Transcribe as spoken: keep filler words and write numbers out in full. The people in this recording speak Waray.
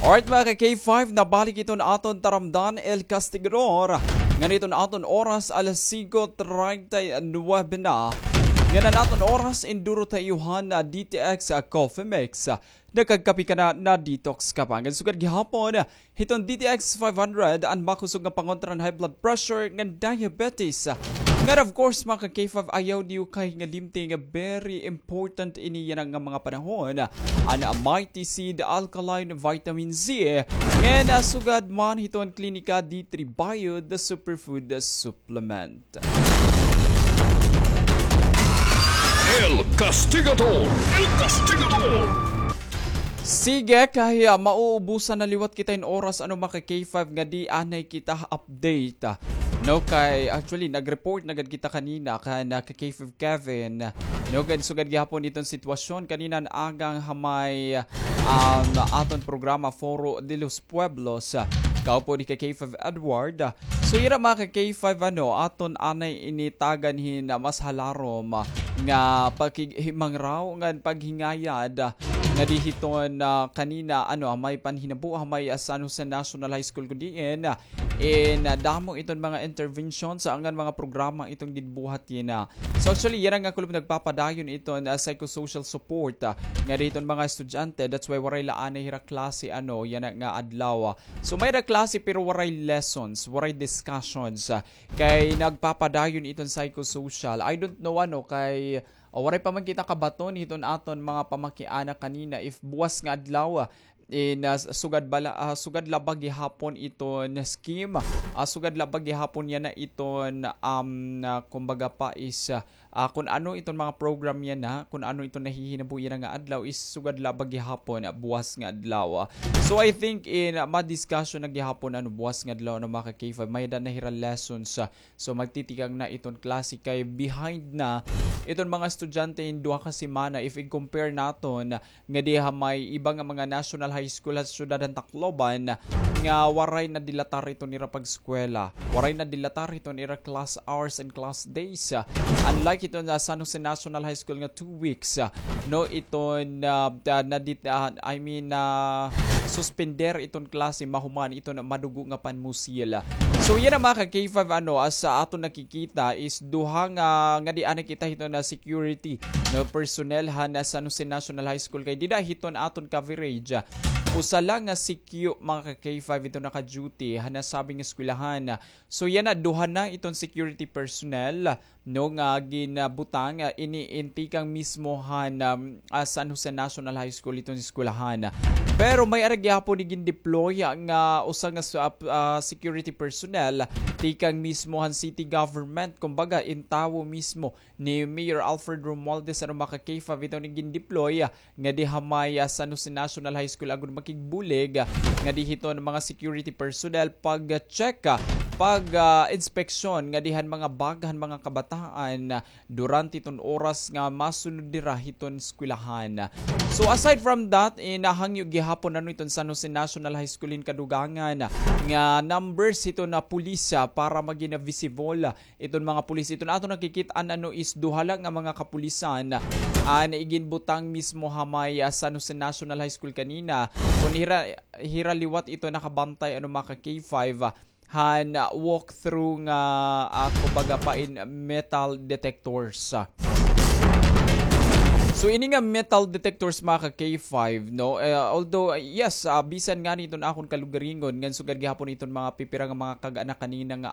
Alright, mga ka K five, nabalik iton aton taramdan, El Castigador. Ngan iton aton oras, alas singko treinta y nuebe na. Ngan an aton oras, induro ta iyo han D T X Coffee Mix. Nakagkape ka na, na-detox ka pa. Ngan sugad gihapon hiton D T X five hundred, an makusog nga pangontra han high blood pressure ngan diabetes. Ngan of course, mga ka K five, ayaw niyo kahingalimti nga very important ini yana nga mga panahon. An Mighty Seed Alkaline Vitamin Z. Ngan, ah, sugad man hiton Klinika D three Bio, the superfood supplement. El Castigador! El Castigador! Sige, kay, ah, mauubusan na liwat kita hin oras, ano, mga ka K five, nga di anay kita update. No, kay, actually, nag-report na gad kita kanina kan, ah, ka K five Kevin. No, gad sugad gihapon iton sitwasyon kanina an aga ha may, um, aton programa Foro de los Pueblos. Kaupod ni ka K five Edward. So, ira, mga ka K five, ano, aton anay ini tagan hin, ah, mas halarom, ah, nga pakighimangraw ngan paghingayad, ah, ngadi hiton, ah, kanina, ano, ah, may panhinabo, ah, may, ah, San Jose National High School kudiin, ah, in, ah, damo iton mga interventions, ah, ngan mga programa iton ginbuhat yana. So, actually, yana nga kulop nagpapadayon iton, ah, psychosocial support, ah, ngadi hiton mga estudyante. That's why waray la anay hira klase, ano, yana nga adlaw, ah. So, may ra klase pero waray lessons, waray discussions, ah, kay nagpapadayon iton psychosocial. I don't know, ano, kay, ah, waray pa man kita kabaton hiton aton mga pamakiana kanina if buwas nga adlaw, ah, in, ah, sugad bala, ah, sugad la ba gihapon iton scheme, ah, sugad la ba gihapon yana iton, um, ah, kumbaga pa is, ah, ah, kun ano iton mga program yana, kun ano iton nahihinabo yana nga adlaw is sugad la ba gihapon, ah, buwas nga adlaw, ah. So I think in, ah, ma-discussion na gihapon, ano, buwas nga adlaw, ano, mga ka K five, may-ada na hira lessons, ah. So magtitikang na iton klase kay behind na iton mga estudyante in duha ka semana if i-compare naton ngadi ha may iba nga mga national high school ha siyudad han Tacloban nga waray nadilatar iton ira pag-eskwela, waray nadilatar iton ira class hours and class days. Unlike iton ha San Jose National High School nga two weeks, ah, no, iton, ah, ah, nadit-, ah, I mean, ah, suspender iton klase mahuman iton madugo nga panmusil. So yana, mga ka K five, ano, as, ah, aton nakikita is duha nga, ngadi anay kita hiton nga security, no, personnel han San Jose National High School kay dida hiton aton coverage, usa la nga C Q, mga ka K five, iton naka-duty han nasabing eskwelahan. So yana, duha na iton security personnel, no, nga ginbutang, ah, ini in tikang mismo han, um, ah, San Jose National High School iton eskwelahan. Pero may-ada gihapon igin-deploy nga usa nga sa-, ah, security personnel tikang mismo han city government, kumbaga in tawo mismo ni Mayor Alfred Romualdez, ano, mga ka K five, iton igin-deploy ngadi ha may, ah, San Jose National High School agod makigbulig, ah, ngadi hiton mga security personnel pag-check, ah, pag, ah, inspeksyon ngadi han mga bag han mga kabataan, ah, durante iton oras nga masunod dira hiton eskwelahan. So aside from that, eh, nahangyo gihapon, ano, iton San Jose National High School hin kadugangan nga numbers hiton nga pulis, ah, para magin visible, ah, iton mga pulis. Iton aton nakikit-an, ano, is duha la nga mga kapulisan an iginbutang mismo ha may, ah, San Jose National High School kanina. Kun hira, hira liwat iton nakabantay, ano, mga ka K five, ah, han, ah, walkthrough nga, ah, kumbaga pa in metal detectors. So ini nga metal detectors, mga ka K five, no? Eh, although, ah, yes, ah, bisan ngani iton akon kalugaringon ngan sugad gihapon iton mga pipira nga mga kag-anak kanina nga